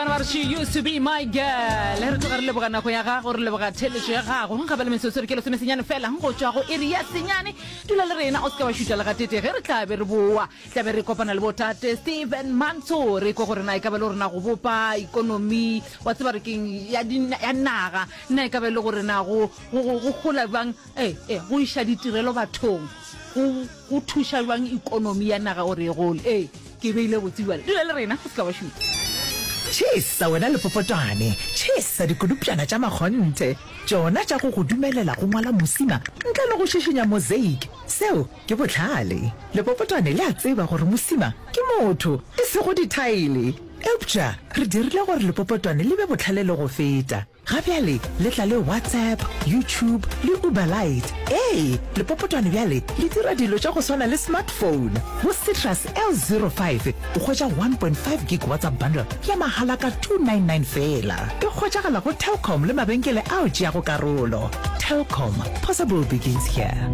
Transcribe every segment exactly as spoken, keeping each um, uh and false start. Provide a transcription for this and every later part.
Bana ba re she used to be my girl. Re tloga re leboga nako ya gago, re leboga theletšo ya gago. Gape le metsotso re ke lesome senyane fela go tšwa go iri ya senyane. Dula le rena o se ke wa šuta le gatete ge re tla be re boa. Tla be re kopana le botate Stephen Mantsho re kwe gore na e ka ba le gore na go bopa ikonomi wa tseba re keng ya, ya naga na e ka ba le gore na go, go, go, go gola bjang eh, eh, go iša ditirelo bathong go, go thuša bjang ikonomi ya naga gore e gole. Ee, ke beile botse bjale. Dula le rena o se ka wa šuta. Tšhesa wena lepopotwane, tšhesa dikodupšana tša makgonthe, tšona tša go go dumelela go ngwala mosima ntle le go šišinya mosaic. Seo ke bohlale. Lepopotwane le a tseba gore mosima ke motho, e sego dithaele. Eupša re dirile gore lepopotwane le be bohlale le go feta. Ga bjale le tla le WhatsApp, YouTube le Uber Lite. Ee, lepopotwane bjale le dira dilo tša go swana le smartphone. Go Citrus L zero five o hwetša one point five gig WhatsApp bundle ya mahala ka two nine nine feela. E hwetšagala go Telkom le mabenkele ao tšeago karolo. Telkom, possible begins here.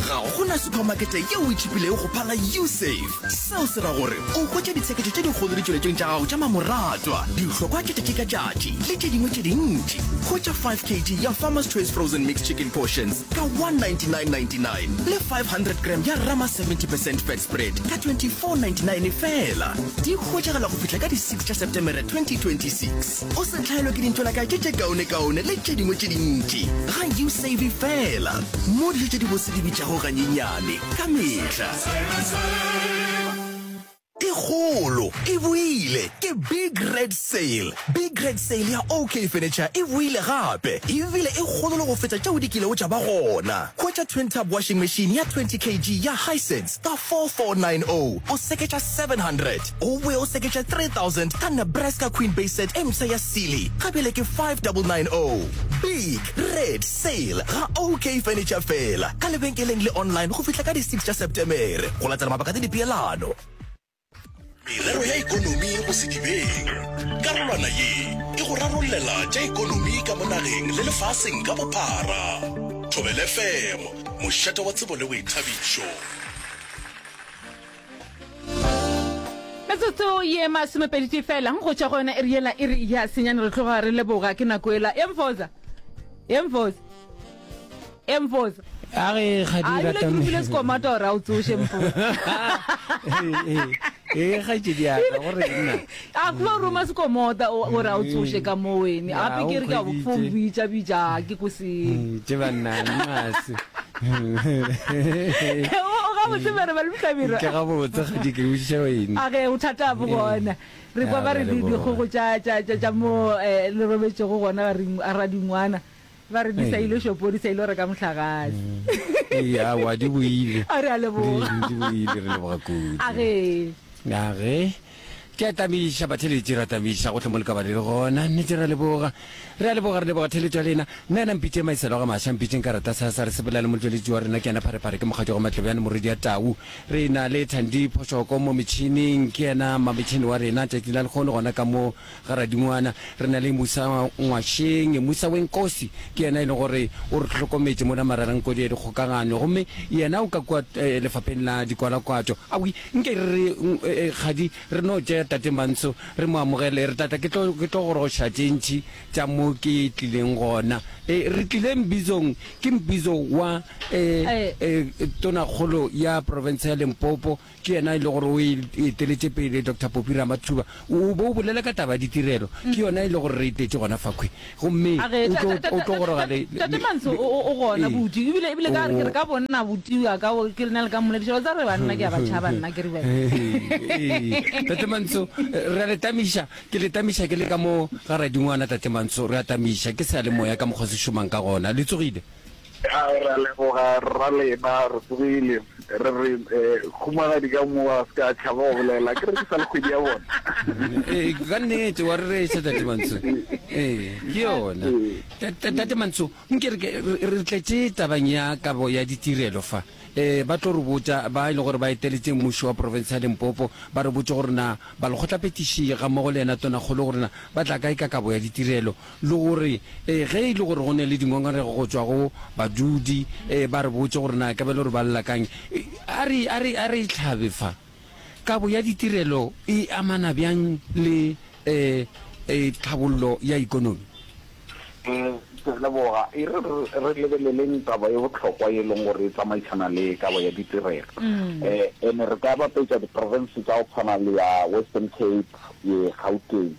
Ga go na supermarkete yeo e tšhipilego go phala Usave. Seo se ra gore o hwetša ditsheketšo tše dikgolo ditšweletšong tša gago tša mamoratwa, dihlokwa tša tšatši ka tšatši le tše dingwe tše dintši. Hwetša five kg ya Farmer's Choice Frozen Mixed Chicken Portions ka one ninety-nine ninety-nine le five hundred gram ya Rama seventy percent Fat Spread ka twenty-four ninety-nine fela. Di hwetšagala go fihla ka di six tša Septemere twenty twenty-six. O se hlaelwe ke dintšwelakae tše tše kaonekaone le tše dingwe tše dintši ga Usave fela, mo dijo tše dibose di bitšago ganyenyane ka mehla. E kgolo e boile ke Big Red Sale. Big Red Sale ya OK Furniture e boile gape, ebile e kgolo le go feta tšeo di kilego tša ba gona. Hwetša twin tub washing machine ya twenty kg ya Hisense ka four four nine oh, o seketša seven hundred. O boe o seketša three thousand ka Nebraska Queen Base Set e mpsha ya Sealy, ga bjale ke five double nine oh. Big Red Sale ga OK Furniture fela, ka lebenkeleng le online go fihla ka di six tša Septemere, go latela mabaka le dipeelano. Merero ya ekonomi go sedibeng. Karolwana ye e go rarollela tša ekonomi ka mo nageng le lefaseng ka bophara. Thobela F M, mošate wa tsebo le boithabišo. Metsotso ye masomepedi tee fela go tšwa go yona iri yela iri ya senyane re tloga re leboga ke nako ela ye mfoza ye mfoza ye mfoza A re ga di a ebile ke rupile sekomata gore a o tsoše mfoza ee kgaetšedi ya ka gore nna a kuba o roma sekomota gore a o tsoše ka mo wene gape ke re ke a bo bitša bitša ke ko se tše banna mase o gabotse mere ba le mohlabirwa ke gabotse kgadi ke botšiša wene a ge o thata bo gona re kwa ba re dikgogo tša tša tša tša mo le robetšego gona ba re radingwana ba re di sa ile shopo di sa ile reka mohlagase. Ee, aowa di boile. A re a leboga. Di boile, re leboga kudu. A ge. A ge. Ke a tamiša batheletši, ra tamiša gohle mo le ka ba le le gona. Nnete ra leboga. Re a leboga, re leboga theletšo ya lena. Nna yena mpitše Maiselo ga Maša, mpitšeng ka rata sa sa re sepela le motšweletši wa rena ke yena Pharephare, ke mokgatšo wa Matlebjane morwedi ya Tau. Re na le Thandi Phošoko mo metšhining, ke yena mametšhini wa rena tšatši la lekgono gona ka mo ga Radingwana. Re na le Musa Ngwašeng, Musa Wenkosi, ke yena e leng gore o re hlokometše mola Mararankodi ya dikgokagano, gomme yena o ka kua lefapheng la dikwalakwatšo. Awi, nke re re kgadi re no tšea Tate Mantsho re mo amogele, re tla tla ke tlo ke tlo goroša tše ntši tša mo ke tlileng gona. E, re tlile mbizong, ke mbizo wa e, e, Tonakgolo ya profense ya Limpopo, ke yena e le gore o e eteletše pele, Doctor Phophi Ramathuba. O bo o bolela ka taba ya ditirelo, ke yona e le gore re etetše gona fakhwi. Gomme A re, o ta- tlo ta- ta- o tlo ta- goroga ta- le, Tate le, Mantsho le o o- o gona ee. buti, ebile ebile ka re ke re O ka bonna buti wa ka o- ke re na le ka mmolediša wa tseba re banna ke a ba tšhaba nna ke re bjale. Ee, Tate Mantsho, re a le tamiša, ke le tamiša ke le ka mo ga Radingwana, Tate Mantsho, re a tamiša, ke seyalemoya ka mokgwa se šomang ka gona. Le tsogile? A re a leboga rra lena, re tsogile. Re re eh, khumagadi ka mo a se ka tšhaba go bolela, ke re ke sa le kgwedi ya bona. Ee, ka nnete wa re reša Tate Mantsho. Ee, ke yona. Tate Mantsho, nke re re tletše tabeng ya kabo ya ditirelo fa. Eh, ba tlo re botša ba e le gore ba eteletše mmušo wa profense ya Limpopo, ba re botše gore na balekgotlaphethiši gammogo le yena tonakgolo gore na ba tla kae ka kabo ya ditirelo, le gore eh, ge e le gore go ne le dingongorego go tšwa go badudi, eh, ba re botše gore na ka be le gore ba lla kang. A re, a re, a re hlabe fa. Kabo ya ditirelo e amana bjang le um tlhabollo ya ikonomi? Um ke a leboga. E re re lebeleleng taba ye bohlokwa ye e leng gore e tsamaišana le kabo ya ditirelo. Um ene re ka bapetša diprofense tša go tshwana le ya Western Cape, ye Gauteng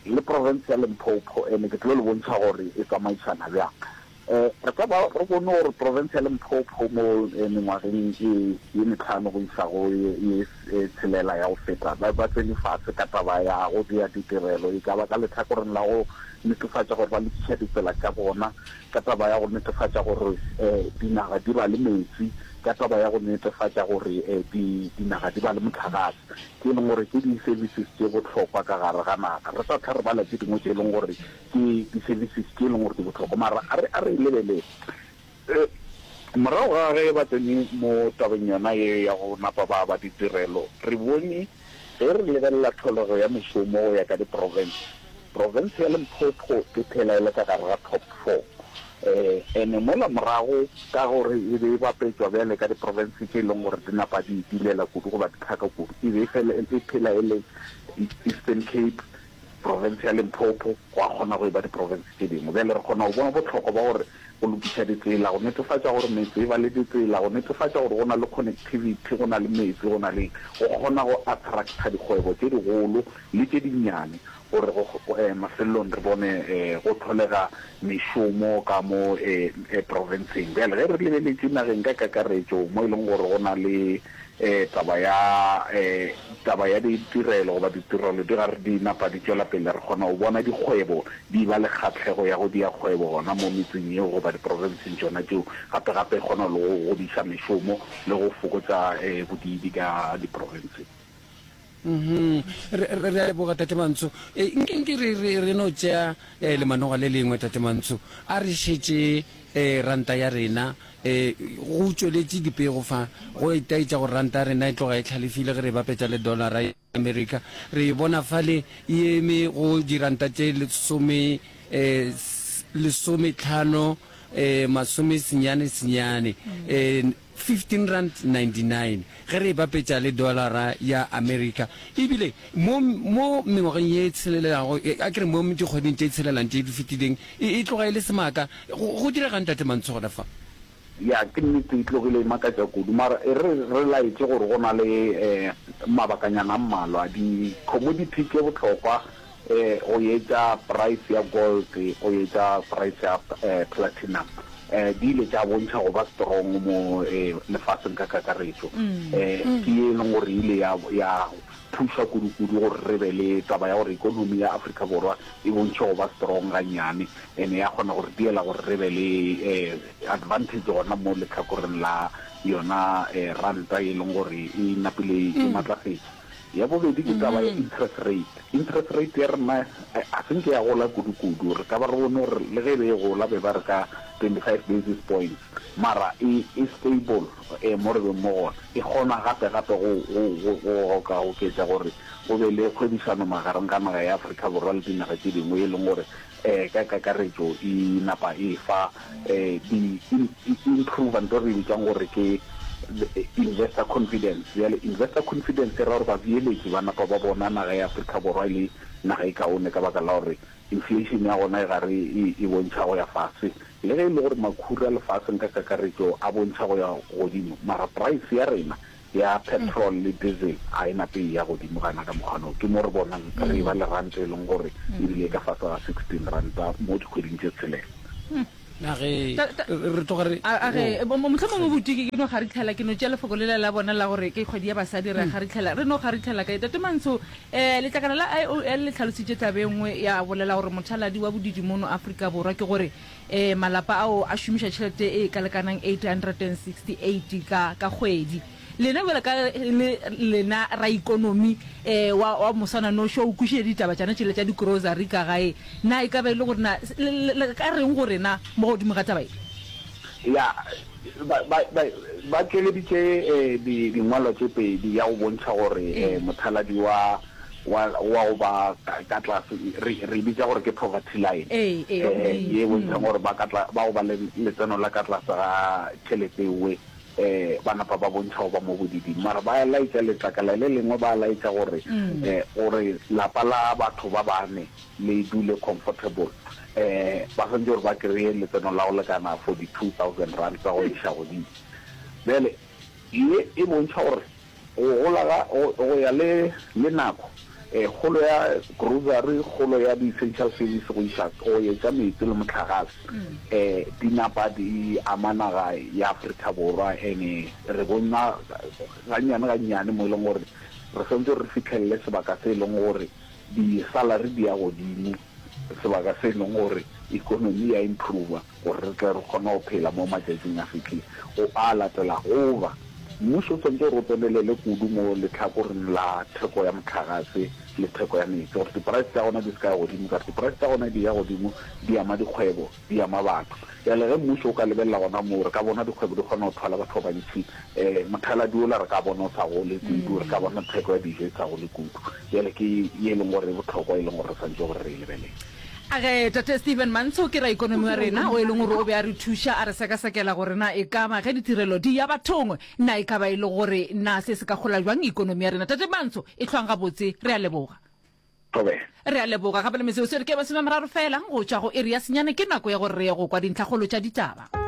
le profense ya Limpopo, ene ke tlo le bontšha gore e tsamaišana bjang. Um re ka ba re bone gore profense ya Limpopo mo mengwageng e ye mehlano go iša go ye ye tshelela ya go feta, ba ba tsene fase ka taba ya go dia ditirelo, e ka ba ka lehlakoreng la go netefatša gore ba lokiša ditsela tša bona, ka taba ya go netefatša gore um dinaga di ba le metsi, ka taba ya go netefatša gore um di dinaga di ba le mohlagase, tše e leng gore ke di-services tše bohlokwa ka gare ga naga. Re sa hlwa re bala tše dingwe tše e leng gore ke di-services tše e leng gore di bohlokwa, mara a re a re e lebelele. Morago ga ge ba tsene mo tabeng yona ye ya go napa ba aba ditirelo, re bone ge re lebelela tlholego ya mešomo go ya ka diprofense, profense ya Limpopo e phela e le ka gare ga top four. Ene mola morago ka gore e be e bapetšwa bjale ka diprofense tše e leng gore di napa di dilela kudu goba di hlaka kudu, e be e fela e phela e le Eastern Cape, profense ya Limpopo, gwa kgona go e ba diprofense tše dingwe. Bjale re kgona go bona bohlokwa bja gore go lokiša ditsela, go netefatša gore metse e ba le ditsela, go netefatša gore go na le connectivity, go na le metsi, go na le eng, go kgona go attracta dikgwebo tše digolo le tše dinnyane gore go, mafelelong re bone go hlolega mešomo ka mo profenseng. Bjale ge re lebeletše nageng ka kakaretšo mo e leng gore go na le taba ya taba ya ditirelo goba ditirelo di gare di napa di tšwela pele, re kgona go bona dikgwebo di ba le kgahlego ya go dia kgwebo gona mo metseng yeo goba diprofenseng tšona tšeo. Gape gape e kgona le go godiša mešomo le go fokotša bodiidi ka diprofenseng. Mhm. Re, re, re a leboga, Tate Mantsho. E, nke, nke re, re, re no tšea eh, lemanoga le lengwe, Tate Mantsho. A re šetše eh, ranta ya rena. Eh, go tšweletše dipego fa, go itaetša gore ranta ya rena e tloga e hlalefile ge re e bapetša le dollara ya Amerika. Re e bona fale e eme go diranta tše lesome, eh, lesometlhano, eh, masomesenyane senyane, eh, fifteen rand ninety nine, ge re e bapetša le dolara ya Amerika. Ebile mo, mo mengwageng ye tshelelago, a ke re mo dikgweding tše tshelelang tše di fetileng, e, e tloga e le semaka. Go, go diregang, Tate Mantsho, gona fa? Ya, ke nnete, e tlogile e makatša kudu. Mara e re re laetše gore go na le um mabakanyana a mmalwa. Di-commodity tše bohlokwa um go etša price ya gold, go etša price ya um platinum, um di ile tša bontšha go ba strong mo um lefaseng ka kakaretšo. Um ke ye e leng gore e ile ya, ya thuša kudu-kudu gore re be le taba ya gore ikonomi ya Afrika Borwa e bontšhe go ba strong gannyane, ene ya kgona go re diela gore re be le um advantage gona mo lehlakoreng la yona um ranta e leng gore e napile e matlafetše. Ya bobedi ke taba ya interest rate. Interest rate ya rena ga se nke ya gola kudu-kudu. Re ka ba re bone gore le ge e be e gola be ba re ka twenty-five basis points, mara e, e stable um mo re beng mo gona. E kgona gape-gape go, go, go, go ka oketša gore go be le kgwebišano magareng ga naga ya Afrika Borwa le dinaga tše dingwe, e leng gore um ka kakaretšo e napa e fa um di, e improve nto re e bitsang gore ke investor confidence. Bjale investor confidence e ra gore babeeletši ba napa ba bona naga ya Afrika Borwa e le naga e kaone ka baka la gore inflation ya gona e gare e, e bontšha go ya fase. Le ge e le gore makhura lefaseng ka kakaretšo a bontšha go ya godimo, mara price ya rena ya petrol le diesel a e nape e ya godimo gana ka mokgwa no. Ke mo re bonang re e ba le ranta e leng gore ebile e ka fase ga sixteen ranta mo dikgweding tše tshelela. A ge Ta- ta- re tloga re A a ge oh. mo- mohlomongwe buti ke no kgaritlhela, ke no tšea lefoko lela la bona la gore ke kgwedi ya basadi, re a kgaritlhela, re no kgaritlhela kae. Tate Mantsho, um letlakala la I O L le hlalositše taba e nngwe ya bolela gore mothaladi wa bodiidi mono Afrika Borwa ke gore um malapa ao a šomiša tšhelete e ka lekanang eight hundred and sixty eight ka ka kgwedi. Lena bjalo ka le lena raikonomi um wa wa moswananoši o kwešiša ditaba tšana tšela tša di-grocery ka gae, na e ka ba e le gore na le, le, le ka reng go rena mo godimo ga taba ye? Ya, ba, ba, ba, ba tšweleditše eh, di, dingwalwa tše pedi ya go bontšha gore eh, mothaladi wa, wa, wa go ba ka, ka tlase, re, re e bitša gore ke poverty line, Ee, ee, wa eh, bodiidi. ye e bontšhang gore ba ka tla, ba go ba le letseno la ka tlase ga tšhelete ewe um ba napa ba bontšha go ba mo bodiiding. Mara ba laetša letlakala le lengwe, ba laetša gore um gore lapa la batho ba bane le dule comfortable, um ba swanetše gore ba kry-e letseno la go lekana forty-two thousand rand tsa go iša godimo. Bjale ye e bontšha gore go gola ga, go, go ya le, le nako, eh, kgolo ya grocery, kgolo ya di-essential service go iša, go etša meetse le mohlagase, eh, di napa di ama naga ya Afrika Borwa. Ene re bona gannyane gannyane mo e leng gore re swanetše gore re fihlelele sebaka se e leng gore di-salary di ya godimo, sebaka se e leng gore economy ya improve, gore re tle re kgone go phela mo matšatšing a fihlile go a latela. Goba mmušo o swanetše gore o tsenelele kudu mo lehlakoreng la theko ya mohlagase le theko ya meetse, gore di-price tša gona di se ka ya godimo, ka gore di-price tša gona di ya godimo di ama dikgwebo, di ama batho. Bjale ge mmušo o ka lebelela gona moo, re ka bona dikgwebo di kgona go thwala batho ba bantši, um mothaladi ola re ka bona o sa gole kudu, re ka bona theko ya dijo e sa gole kudu. Bjale ke ye e leng gore e bohlokwa, e leng gore re swanetše gore re e lebelele. A ge Tate Stephen Mantsho ke raikonomi wa rena o e leng gore o be a re thuša a re sekasekela gore na e ka ba ge ditirelo di ya bathong na e ka ba e le gore na se se ka gola bjang ikonomi ya rena. Tate Mantsho e hlwang gabotse, re a leboga. Thobela. Re a leboga gape le metsotso e re ke masome a mararo fela go tšwa go iri ya senyane, ke nako ya gore re ye go kwa dintlhakgolo tša ditaba.